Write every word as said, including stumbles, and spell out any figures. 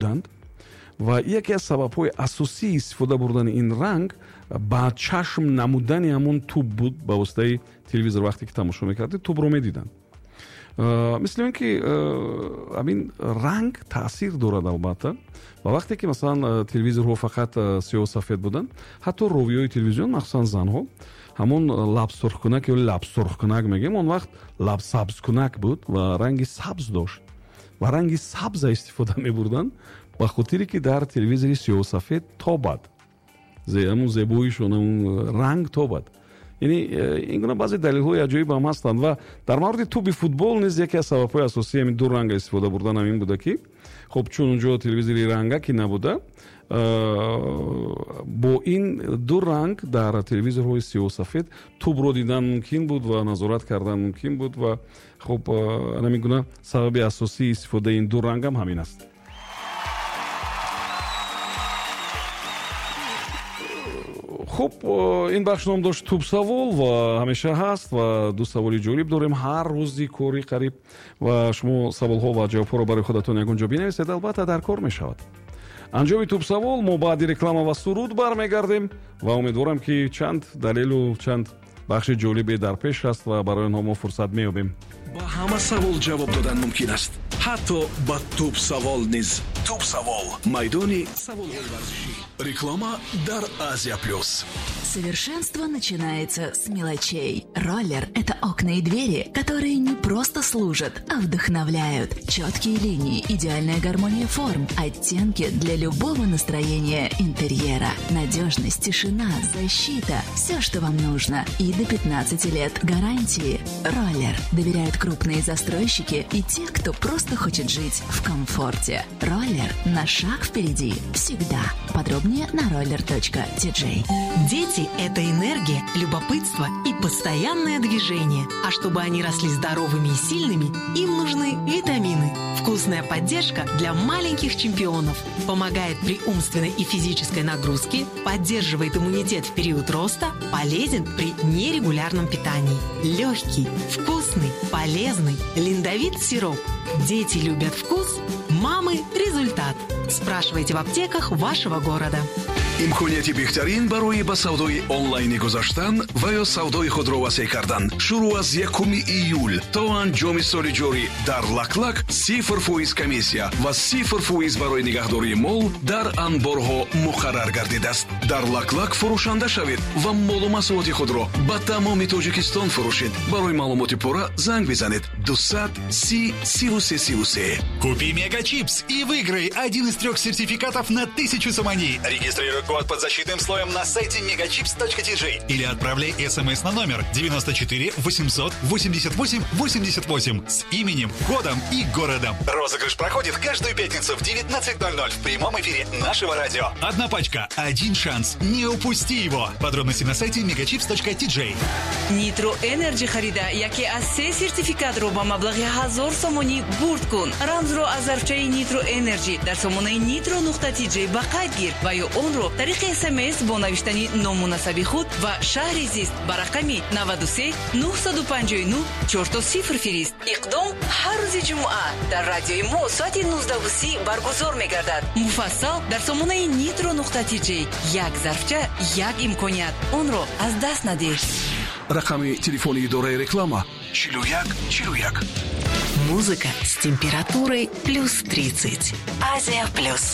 Буданд ва яке аз сабабҳои асосии истифода бурдани ин ранг ба чашм намудани ҳамон тӯб буд. Ба воситаи телевизор вақте ки тамошо мекардед, тӯбро медиданд. Мисли он ки ҳамин ранг таъсир дорад, албатта. Ва вақте ки, масалан, телевизорҳо фақат сиёҳу сафед буданд, ҳатто ровиҳои телевизион, махсусан занҳо, ҳамон лабсурхкунак ё лабсурхкунак мегӯем, он вақт лабсабзкунак буд ва ранги сабз дошт ва ранги сабза истифода мебурданд, ба хотире ки дар телевизори сиёҳу сафед тобад, ҳамун зебоишон, ҳамун ранг тобад. Яъне ин гуна баъзе далелҳои аҷоиб ҳам ҳастанд. Ва дар мавриди тӯби футбол низ яке аз сабабҳои асосии ҳамин ду ранга истифода бурдан ҳамин буда, ки хуб, чун унҷо телевизори ранга ки набуда, бо ин ду ранг дар телевизорҳои сиёҳу сафед тӯбро дидан мумкин буд ва назорат кардан мумкин буд. Ва хуб, ҳамин гуна сабаби асосии истифодаи ин ду рангам ҳамин аст. Хуб, ин бахш ном дошт «Тӯбсавол» ва ҳамеша ҳаст ва ду саволи ҷолиб дорем ҳар рӯзи кори қариб ва шумо саволҳо ва ҷавобҳоро барои худатон ягон ҷо бинависед, албатта дар кор мешавад. Анҷоми тӯбсавол мо баъди реклама ва суруд бармегардем ва умедворам, ки чанд далелу чанд бахши ҷолибе дар пеш аст ва барои онҳо мо фурсат меёбем. Ба ҳама савол ҷавоб додан мумкин аст, ҳатто ба тӯбсавол низ. Тӯбсавол, майдони саволҳои варзишӣ. Реклама дар Азия Плюс. Совершенство начинается с мелочей. Роллер – это окна и двери, которые не просто служат, а вдохновляют. Четкие линии, идеальная гармония форм, оттенки для любого настроения интерьера. Надежность, тишина, защита – все, что вам нужно. И до пятнадцати лет гарантии. Роллер. Доверяют крупные застройщики и те, кто просто хочет жить в комфорте. Роллер на шаг впереди. Всегда. Подробнее на roller.tj. Дети – это энергия, любопытство и постоянное движение. А чтобы они росли здоровыми и сильными, им нужны витамины. Вкусная поддержка для маленьких чемпионов. Помогает при умственной и физической нагрузке, поддерживает иммунитет в период роста, полезен при нерегулярном питании. Легкий, вкусный, полезный Линдовит сироп. Дети любят вкус, мамы – результат. Спрашивайте в аптеках вашего города. Имконияти беҳтарин барои ба савдои онлайнӣ гузаштан ва ё савдои худро васеъ кардан шурӯъ аз якуми июл то анҷоми соли ҷорӣ дар Лаклак сифр фоиз комиссия ва сифр фоиз барои нигаҳдории мол дар анборҳо муқаррар гардидааст. Дар Лаклак фурӯшанда шавед ва молу маҳсулоти худро ба тамоми Тоҷикистон фурӯшед. Барои маълумоти пурра занг бизанед дусад си сиву се сиву се. Купи Мегачипс и выиграй один из трех сертификатов на тысячу сомони. Регистрируй код под защитным слоем на сайте megachips.tj или отправляй смс на номер девяносто четыре восемьсот восемьдесят восемь восемьдесят восемь с именем, кодом и городом. Розыгрыш проходит каждую пятницу в девятнадцать ноль ноль в прямом эфире нашего радио. Одна пачка, один шанс. Не упусти его. Подробности на сайте megachips.tj. Нитро Энерджи харида яке аз се сертификатро ба маблағи ҳазор сомонӣ бурд кун. Рамзро аз зарфчаи Нитро Энерджи дар сомонаи нитро нуқта тиҷ ба қайд гир ва ё онро тариқи смс бо навиштани ному насаби худ ва шаҳри зист ба рақами наваду се нӯҳсаду панҷоҳу нӯҳ чорто сифр фирист. Иқдом ҳар рӯзи ҷумъа дар радиои мо соати нуздаҳу си баргузор мегардад. Муфассал дар сомонаи нитро нуқта тиҷ. Як зарфча, як имконият, онро аз даст надеҳ. Рақами телефони идораи реклама чилу як чилу як. Музыка с температурой плюс тридцать. Азия Плюс.